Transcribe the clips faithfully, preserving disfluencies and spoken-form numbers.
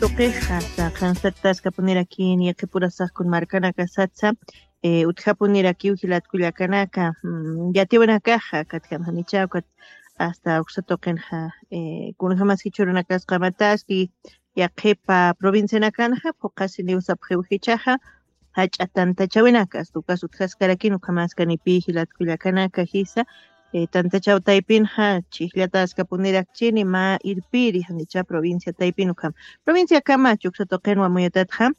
tuqix, hasta qhanstatktaskapunirakin yaqhipurasax kun markanakasatsa, eh, utjapunirakiw jilat kullakanaka, mm, yatiwanakaxa, katjam janicha, ukat hasta uksa tuqinxa, eh, kunjamas jichhürunakas qamataski, yaqhipa provincianakanxa, phuqhasiniw sapxiw jichhaxa, jach'a tantachawinakas, ukas utjaskarakin, ukhamaskanipï jilat kullakanaka jisa, eh, tantachaw taypinxa, chhijllataskapunirakchini, mä irpiri, janicha provincia taypin ukham. Provinciakama, uksa tuqinwa amuyatatxa,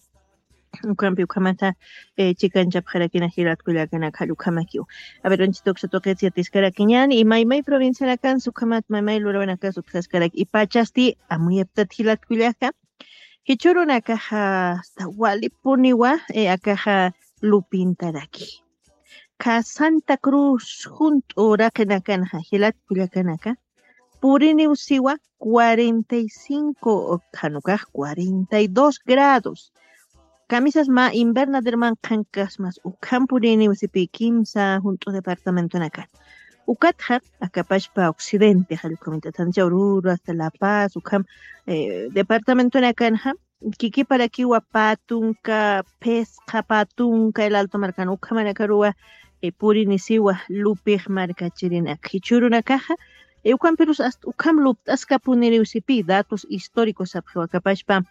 ukhampi ukhamata, eh, chikanchapxarakina jilat kullakanaka, jall ukhamakiw. A ver, anchhita uksa tuqits yatiskarakiñäni, imaymay provincianakansa ukhamat maymay lurawinakas utjaskaraki, ipachasti amuyaptat jilat kullaka. Jichhürunakaxa hasta walipuniwa, eh, akaxa lupintaraki. Khä Santa Cruz junt'u uraqinakanxa jilat kullakanaka, puriniw siwa cuarenta y cinco, janukax cuarenta y dos grados. Kamisas mä invernaderman qhankaskmas, ukham puriniw sipï kimsa junt'u departamentonakan. Ukatxa, akapachpa occidente, jall ukhamit'atancha Oruro, hasta La Paz, ukham, eh, departamentonakanxa, kikiparakiwa pä tunka, phisqa pä tunka, el Alto markan ukhamanakaruwa, eh, purinisiwa lupix markachirinak. Jichhürunakaxa, eh, ukhampirus hasta ukham lupt'askapuniriw sipï, datos históricos sapxiw akapachpa,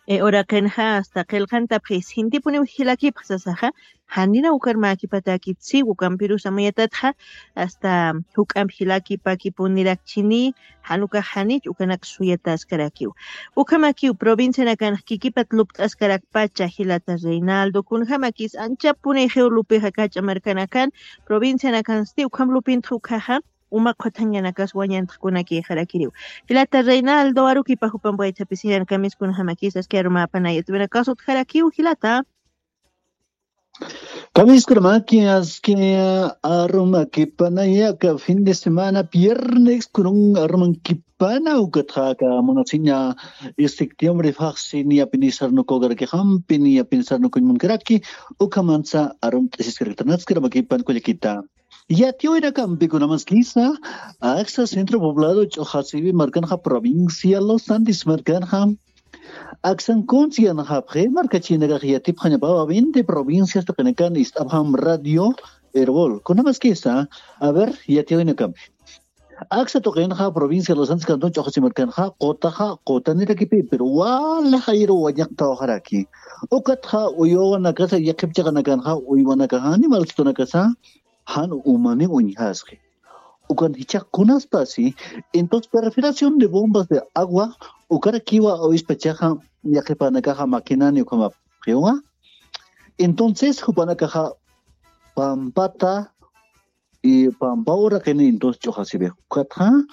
eh, uraqinxa hasta qillqantapxi, sintipuniw jilakipx sasaxa, janina ukar mäkipatäkit siw, ukampirus amuyatatxa, hasta juk'amp jilakipakipunirakchini, jan ukax janich ukanak suyataskarakiw. Ukhamakiw, provincianakanx kikipat lupt'askarakpacha jilata Reinaldo, kunjamakis anchapunixiw lupixa kach'a markanakan, provincianakansti ukham lupintx ukhaxa, uma qhutanñanakas wañantxkunakïxarakiriw. Jilata Reinaldo, arukipa jupamp waythapisirinakan, kamis kunjamakis aski arumäpanaya, tuwinakas utjarakiw jilata. Kamiskuramaki, aski arumakipanaya, aka fin de semana, viernes, kunun arumankipana, ukatxa aka munasiña, septiembre, faxsi, niyapini sarnukukarakixampi, niyapini sarnukuñ munkaraki, ukhamansa arumt'asiskaraktanatskiramakipan kullakita. Yatiyawinakampi kunamaskisa, aksa centro poblado Ch'uxasiwi markanxa, provincia Los Andes markanxa, aksan kunsi yanxapxi, markachinakax yatipxañapawa, veinte provincias tuqinakan ist'apxam Radio Erbol. Kunamaskisa, a ver, yatiyawinakampi. Aksa tuqinxa, provincia Los Andes, cantón Ch'uxasi markanxa, qutaxa, qutanirakipi, pero wali jayru wañaqtawaxaraki. Ukatxa, uywanakasa, yaqhip chiqanakanxa, uywanakaxa, animalsitunakasa, jan umaniw uñjasxi. Ukan jichhax kunaspasi, entonces perforación de bombas de agua, ukarakiwa awispachaxa, yaqhipanakaxa maquinani ukhamapxiwa. Entonces, jupanakaxa pampata, y pampa uraqini, entonces, Ch'uxasiwi. Ukatxa,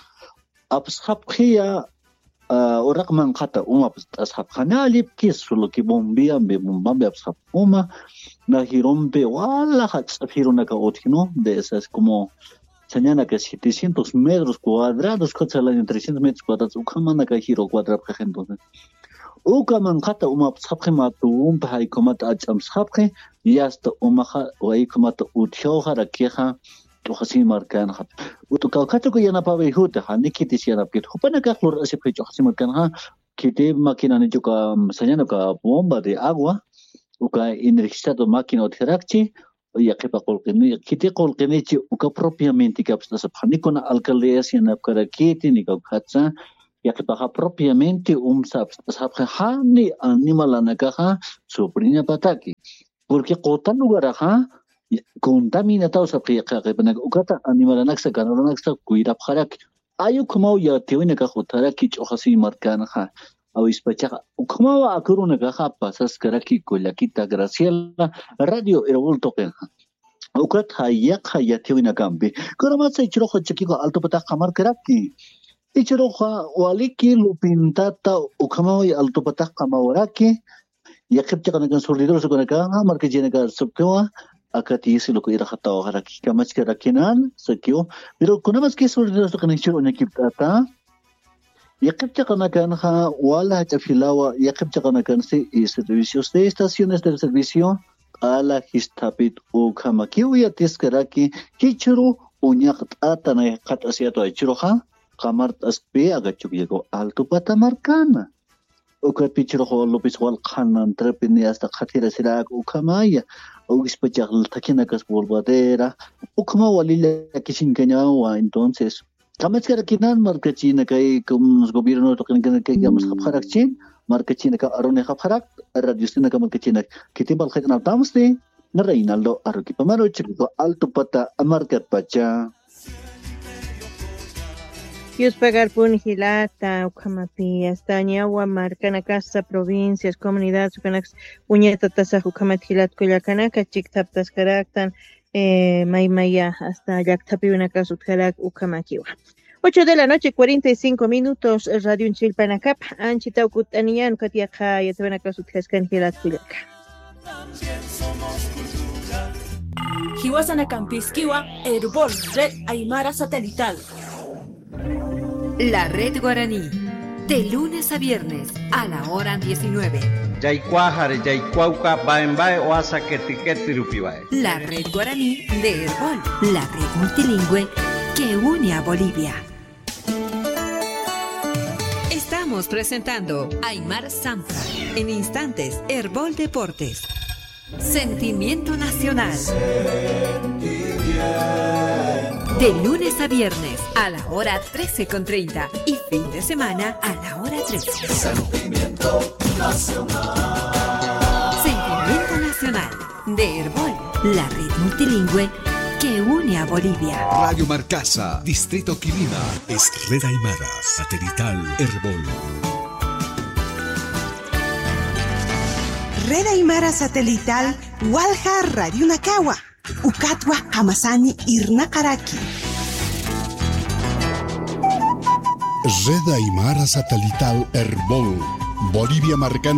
apsxapxiya, ah, uraq manqhata uma apst'asxapxani, allipkis, solo que bombiambi, bombambi apsxapx uma, na jirumpi, wala jach'a jirunaka utjinu, de esas como, sañanaka setecientos metros cuadrados, kutsa laña trescientos metros cuadrados, ukhamanaka jiru cuadrapxix entonces. Uka manqhata uma apsxapxi, mä tuwumpi jaykhumata ach'amsxapxi, y hasta umaxa, jaykhumata utjawxarakixa, Ch'uxasi markanxa. Utu kawkhata uka yanapawi juti, jani khitis yanapkit. Jupanakax lurasipxi Ch'uxasi markanxa, khiti maquinanichu uka, sañan uka bomba de agua, uka energizado máquina utjarakchi, yaqhipa qullqini, khiti qullqinichi uka propiamente apst'asapxani, kuna alcaldías yanapkarakiti, ni kawkhatsa, yaqhipaxa propiamente umsa apst'asapxi, jani animalanakaxa sufriñapataki. Porque quta lugaraxa, contaminataw sapxi yaqhipanaka, ukata animalanaksa, ganadoranaksa cuidapxaraki. Ay ukhamaw yatiyawinakax utjaraki Ch'uxasi markanxa, awispachaxa, ukhamaw akurunakaxa pasaskaraki kullakita Graciela, Radio Erbol tuqinxa. Ukatxa yaqha yatiyawinakampi. Kunamatsa jichhüruxa chakiku altupatax qamarkaraki. Jichhüruxa waliki lupintata ukhamaw altupatax qamawaraki. Yaqhip chiqanakan surtidores ukanakaxa, markachinaka sapxiwa, akatiyisi luku irxatawaxaraki, kamachkarakinan, sakiw. Pero kunamaski surtidores ukanak jichhür uñakipt'ata, yaqhip chiqanakanxa, wala jach'a filawa, yaqhip chiqanakansi, y servicios de estaciones de servicio, q'ala jisthapit ukhamakiw yatiskaraki, jichhüru uñaqt'ata nay qhat'asiyatwa jichhüruxa, qamart'askpi aka Chukiyaku altupata markana. Ukat pichurux López Walqhan mantrapi ni hasta qhatirasirak ukhamaya, ugispachax thakinakas polvadera, ukhama wali llakisiñkañawa. Entonces, kamaskarakinan markachinakay, como gobierno tuqinkanakay, kamasqapxarakchin, markachinaka arunixapxarak, radiostinaka markachinak, khitin parlqit'anaptamsti, Reinaldo Aruquipa Marucha, Altupata markatpacha. Yuspagarpun jilata, ukhamapi astañawa markanakasa, provincias, comunidades, ukanakas uñatatasax ukhamat jilat kullakanaka, chikthaptaskaraktan, eh, maymaya hasta llakthapiwinakas utjarak ukhamakiwa. Ocho de la noche, cuarenta y cinco minutos, radio Chilpanakap, anchitaw kut'aniyan, ukat yaqha yatawinakas utjaskan jilat kullaka. Jiwasanakampïskiwa, Erbol, Red Aymara Satelital. La Red Guaraní, de lunes a viernes, a la hora diecinueve. Yaykuwaxari, yaykuwawka, baembae, oasa, ketiketirupiwae. La Red Guaraní de Erbol, la red multilingüe que une a Bolivia. Estamos presentando Aymar Sampa. En instantes, Erbol Deportes. Sentimiento Nacional. De lunes a viernes a la hora trece con treinta y fin de semana a la hora trece. Sentimiento Nacional. Sentimiento Nacional de Erbol, la red multilingüe que une a Bolivia. Radio Marcasa, Distrito Quilima, es Red Aymara, satelital Erbol. Red Aymara Satelital, walja radionakawa, ukatwa jamasani irnaqaraki. Red Aymara Satelital Erbol, Bolivia marcan